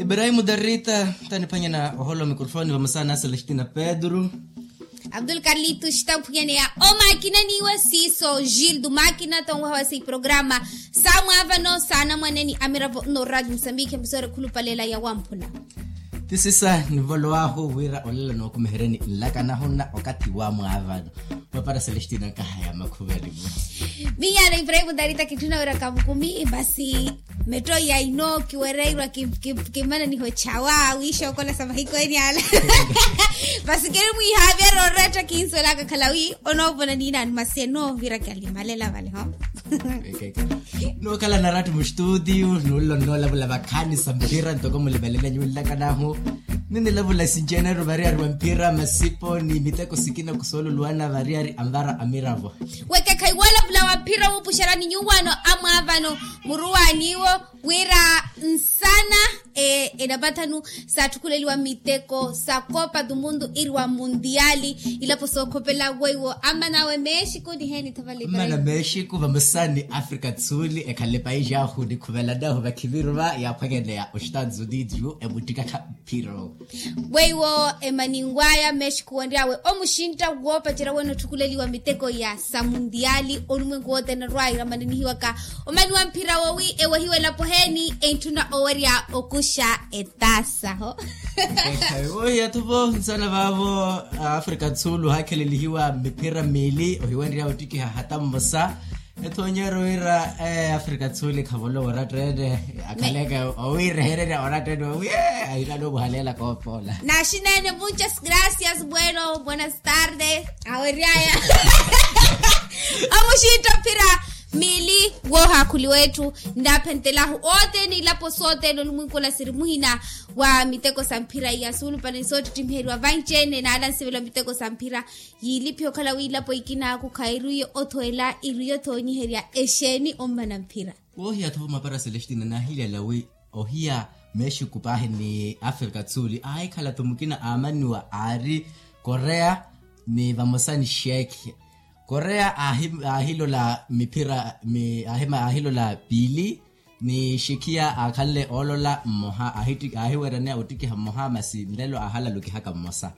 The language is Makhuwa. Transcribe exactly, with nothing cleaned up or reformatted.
Ibrahim darita taniphwanyana ohola omikrofoni vamosa na celestina pedro. Abdul karlitu xitamphunyane ya omakinaniwe siiso gildo makina tonweha wasi programa sa mwaavano sa anamwaneni amiravo no radio musambiki emisore khulupalela ya wamphula. Tisisa nivolowahu wira olela nookumiheryeni nlakanahu na okathi wa mwaavano. Mapara celestina nkahaya makhuvelimu. Minyana ibrahim darita kitthuna wira kamukumi basi. Metto ya ino kiwereirwa kimananiho chawa wiishokola sa mahiku eni ala. Basi keri mwihaavya rooretta kinsolaka khala wi onoovona niina animaseno vira kialimalela vale ho. Nookhala narattu mustutio nuulla onnoolavula vakhaani sa mpira ntoko mulivalele nyuullaka nahu. Ninilavula sinjeneru variyari wa mpira masipo ni miteko sikina kusoololuwana variyari anvara amiravo. Wekekha iwoolavula wa mpira wuupuxerani nyuwaano amwaavano muruwaaniwo wira nsana enapathanu saatthukhuleeliwa miteko sa copa do mundo iri wa mundiali. Ilapo sookhopela weiwo ammana awe mexico niheeni thavalekale. Ammana mexico vamosa ni africa do sul ekhale paisi ahu nikhuvelanahu vakhiviruva yaaphwanyaneya ostados unidos emuttikakha mphiro. Weiwo emaninw'aya mexico wanry'awe omuxintta woopacerya wene otthukuleliwa miteko ya sa mundiali onumwenku wothene orwaira manenihiwaka omani wa mphira wowi ewehiwe elapo heeni entthuna owerya okuxa etaasa ho. Wohiyathuvo nsana vaavo africa do sul ohaakhelelihiwa miphira miili ohiwenrya ottikiha hata mmosa. Ethoonyeryo wira africa do sul ekhavolowa oratta ene akhaleke owirehererya oratta ene owi ahinano omuhaleela koopoola. Naxinene muchas gracias bueno buenas tardes aweryaya. Omuxintta ophira miili woohaakhuliwa etthu. Nnaaphentelahu othene ilapo sothene onumwinkula siri muhina wa miteko sa mphira iya suulupale ni soottittimiheryiwa vanci-ene naala nsivela miteko sa mphira. Yiiliphiha okhala wiilapo ikina akhu khairwiye othweela irwiye othoonyiherya exeeni ommana mphira. Woohiya-tho mapara celestina naahilyala wi ohiya mexico paahi ni africa do sul aahikhala-tho mukina aamaniwa aari korea ni vamosa ni shekhi. Korea aahilola miphira aahilola piili ni shekhiya aakhanle oolola mmoha aahiweryaneya ottikiha mmoha masi nlelo aahalalukihaka mmosa.